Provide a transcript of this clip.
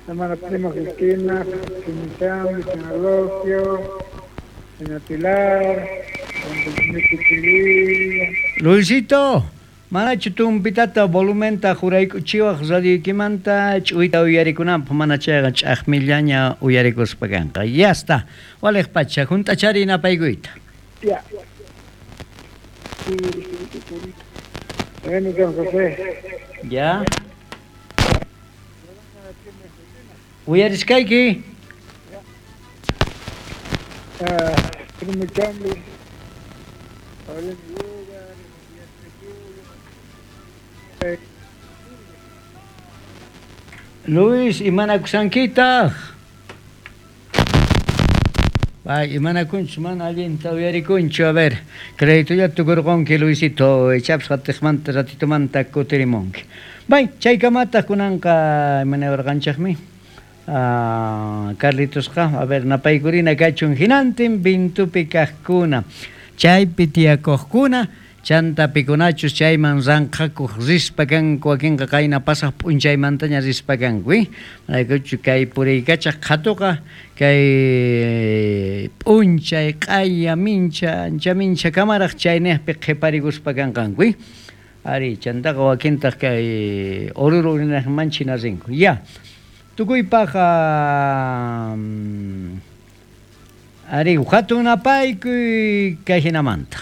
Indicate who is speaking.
Speaker 1: Hermana Prima Cristina, Chimichangui, señor Logio, señor Pilar,
Speaker 2: Luisito, manachu tumpitata volumenta juraykuchiwaj radioykimanta ch'uyta uyarikunanpaj mana chayqa ch'ajmillaña uyarikuspa kanqa. Ya está. Walej pacha, junt'achari napaykuyta.
Speaker 1: Ya. Bueno, don José.
Speaker 2: Ya. Uyariskayki.
Speaker 1: Primo Chambi, Paulino Yuga,
Speaker 2: Luis, imanakusankitaq? Ay, imanakunchu, mana allinta uyarikunchu. A ver, créditolla tukurqunki, Luisito, ichapas qatiqmanta ratitomanta kutirimunki. Bay, chaykamataq kunanqa imanawarqanchikmi. Ah, Carlitosqa, a ver, napaykurina kachun hinantin vintupi kaqkuna, chaypi tiyakuqkuna, chanta pikunachus chayman ranqhakuq rispa kanku, wakinqa qayna pasaq p'unchaymantaña rispa kanku, eh? Manaykuchu kay puriykachaq qhatuqa kay p'unchay q'aya mincha ancha mincha kamaraq chayniqpi qhiparikuspa kanqanku, eh? Ari, chantaqa wakintaq kay Oruro urinaqman china rinku. Ya. Tukuypaq ari hatun napaykuy kay hinamanta.